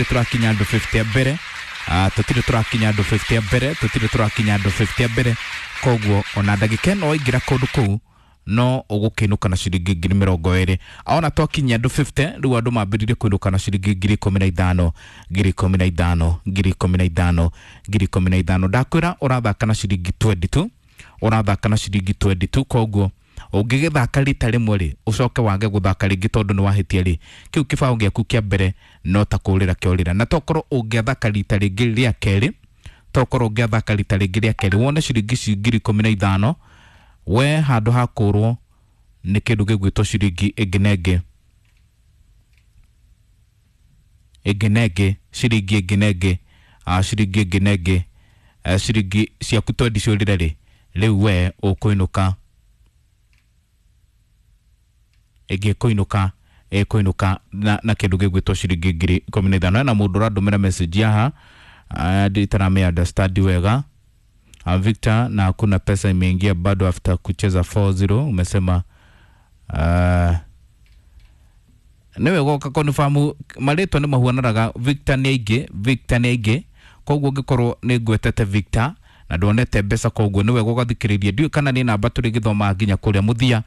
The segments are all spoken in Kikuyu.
Tũrakinya andũ 50 a mbere. Tũtirĩ tũrakinya andũ 50 a mbere, tũtirĩ tũrakinya andũ 50 a mbere. Koguo ona ndagĩka ĩno waingĩra kũndũ kũu no ũgũkĩinũka na ciringi 20,000. Ona twakinyia andũ 50 rĩu andũ mambĩrĩrie kũinũka na ciringi 15,000, 15,000, 15,000, 15,000. Ndakwĩra ũrathaka na ciringi 22, ũrathaka na ciringi 22. Koguo ũngĩgĩthaka rita rĩmwe rĩ, ũcoke wage gũthaka rĩngĩ tondũ nĩ wahĩtia rĩ, kĩu kĩbaũ gĩaku kĩa mbere no ta kũrĩra kĩorĩra. Na tokorwo ũngĩathaka rita rĩngĩ rĩa kerĩ, tokorwo ũngĩathaka rita rĩngĩ rĩa kerĩ wone ciringi ici 15,000, we handũ ha kũrwo nĩ kĩndũ gĩgwĩtwo ciringi ĩngĩ na ĩngĩ, ĩngĩ na ĩngĩ, ciringi ĩngĩ na ĩngĩ, ciringi ĩngĩ na ĩngĩ, ciringi ciaku twendi ciũrĩre rĩ, rĩu we ũkũinũka ĩngĩ ĩkũinũka, ĩkũinũka na kĩndũ gĩgwĩtwo ciringi 15,000. Hena mũndũ ũrandũmĩra message haha, nditarame understand wega. Victor, na hakuna pesa imeingia bado after kucheza 4-0 umesema. Nĩ wega ũka confirm marĩtwa nĩ mahuananaga. Victor nĩ aingĩ, Victor nĩ aingĩ, koguo ũngĩkorwo nĩ ngwetete Victor na ndwonete mbeca, koguo nĩ wega ũgathikĩrĩria. Ndiũĩ kana nĩ namba tũrĩgĩthomaga nginya kũrĩa mũthia,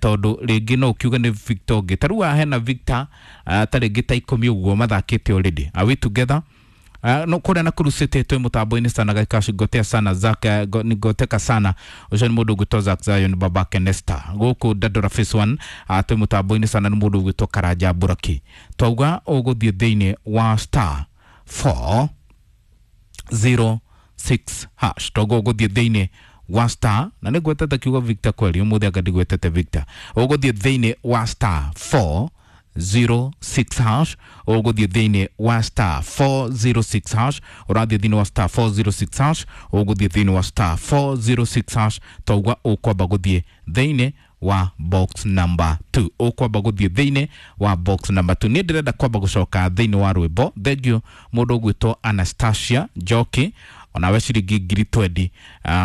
tondũ rĩngĩ no ũkiuge nĩ Victor ũngĩ. Ta rĩu haha hena Victor, ta rĩngĩ ta 10 ũguo mathakĩte already. Are we together? No kũrĩa Nakuru City twĩ mũtambo-inĩ sana gaikaci ngotea sana Zack, ngoteka sana ũcio nĩ mũndũ ũgwĩtwo Zack Zion babake Nesta. Gũkũ Dandora Phase 1, twĩ mũtambo-inĩ sana nĩ mũndũ ũgwĩtwo Karanja Buraki. Twauga ũgũthiĩ thĩinĩ wa star 406 hash, toguo ũgũthiĩ thĩinĩ wa star, na nĩ ngwetete kiugo Victor kweli ũmũthĩ, anga ndigwetete Victor. Ũgũthiĩ thĩinĩ wa star 406 hash, ũgũthiĩ thĩinĩ wa star 406 hash, ũrathiĩ thĩinĩ wa star 406 hash, ũgũthiĩ thĩinĩ wa star 406 hash. Tauga ũkwamba gũthiĩ thĩinĩ wa box number 2, ũkwamba gũthiĩ thĩinĩ wa box number 2. Niĩ ndĩrenda kwamba gũcoka thĩinĩ wa rwĩmbo. Thank you mũndũ ũgwĩtwo Anastasia Njoki, onawe ciringi 20,000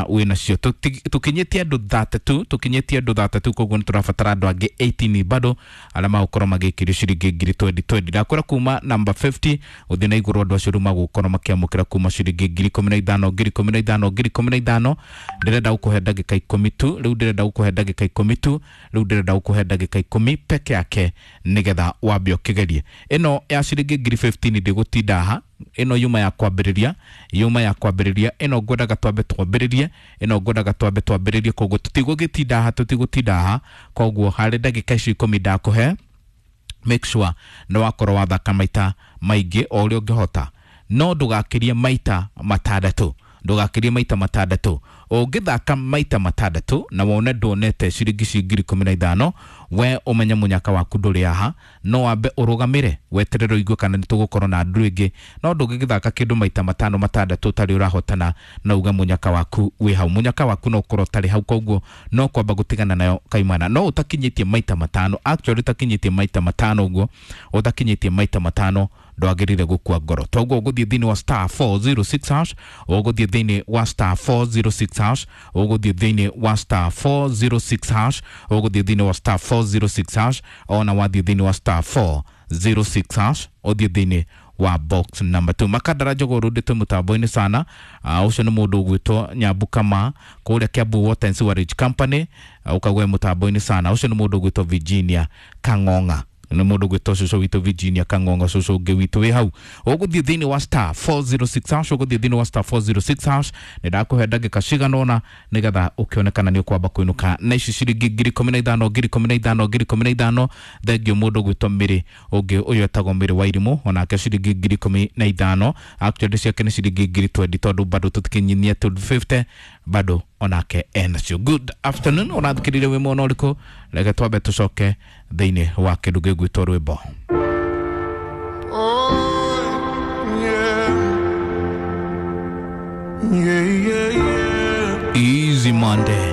wĩ nacio. Tũkinyĩtie andũ 32, tũkinyĩtie andũ 32, koguo nĩ tũrabatara andũ angĩ 18 bado arĩa magũkorwo magĩkĩrio ciringi 20,000 20. Ndakwĩra kuma namba 50 gũthiĩ na igũrũ, andũ acio rĩu magũkorwo makĩamũkĩra kuma ciringi 15,000, 15,000, 15,000. Ndĩrenda gũkũhe ndagĩka 10 tu rĩu, ndĩrenda gũkũhe ndagĩka 10 tu rĩu, ndĩrenda gũkũhe ndagĩka 10 peke yake nĩgetha wambe ũkĩgerie ĩno ya ciringi 15,000. Ndĩgũtinda haha, ĩno yuma ya kwambĩrĩria, yuma ya kwambĩrĩria ĩno ngwendaga twambe twambĩrĩrie, ĩno ngwendaga twambe twambĩrĩrie, koguo tũtigũgĩtinda haha, tũtigũtinda haha. Koguo harĩ ndagĩka icio 10 ndakũhe, make sure nĩ wakorwo wathaka maita maingĩ o ũrĩa ũngĩhota, no ndũgakĩrie maita matandatũ, ndũgakĩrie maita matandatũ. Ũngĩthaka maita matandatũ na wone ndwonete ciringi ici 15,000, we ũmenye mũnyaka waku ndũrĩ haha. No wambe ũrũgamĩre weterere ũigue kana nĩ tũgũkorwo na andũ ĩngĩ, no ndũngĩgĩthaka kĩndũ maita matano matandatũ ũtarĩ ũrahotana na uge mũnyaka waku wĩ hau. Mũnyaka waku no ũkorwo ũtarĩ hau, koguo no kwamba gũtigana nayo kaimana. No ũtakinyĩtie maita matano, actually ũtakinyĩtie maita matano ũguo, ũtakinyĩtie maita matano ndwagĩrĩire gũkua ngoro. Toguo ũgũthiĩ thĩinĩ wa star 406 hash, ũgũthiĩ thĩinĩ wa star 406 hash, ũgũthiĩ thĩinĩ wa star 406 hash, ũgũthiĩ thĩinĩ wa star 406 hash. Ona wathiĩ thĩinĩ wa star 406 hash, ũthiĩ thĩinĩ wa box number 2. Makandara Njogoo Road twĩ mũtambo-inĩ sana. Ũcio nĩ mũndũ ũgwĩtwo Nyambu Kama kũrĩa Kiambu Water and Sewerage Company, ũkagwe mũtambo-inĩ sana. Ũcio nĩ mũndũ ũgwĩtwo Virginia Kang'ong'a, nĩ mũndũ ũgwĩtwo cũcũ witũ Virginia Kang'ong'a, cũcũ ũngĩ witũ wĩ hau. Ũgũthiĩ thĩinĩ wa star 406 hash, ũgũthiĩ thĩinĩ wa star 406 hash. Nĩ ndakũhe ndagĩka cigana ũna nĩgetha ũkĩonekana nĩ ũkwamba kũinũka na ici ciringi 15,000, 15,000, 15,000. Thengiũ mũndũ ũgwĩtwo Mĩrĩ ũngĩ ũyũ etagwo Mĩrĩ wa Irimũ, onake ciringi 15,000. Actually ciake nĩ ciringi 20,000 tondũ bado tũtikinyinie 250, bado onake enacio. Good afternoon, ũrathikĩrĩria wĩ mwena ũrĩkũ? Reke twambe tũcoke thĩinĩ wa kĩndũ gĩgwĩtwo rwĩmbo. Oh, yeah. Yeah, yeah, yeah. Easy Monday.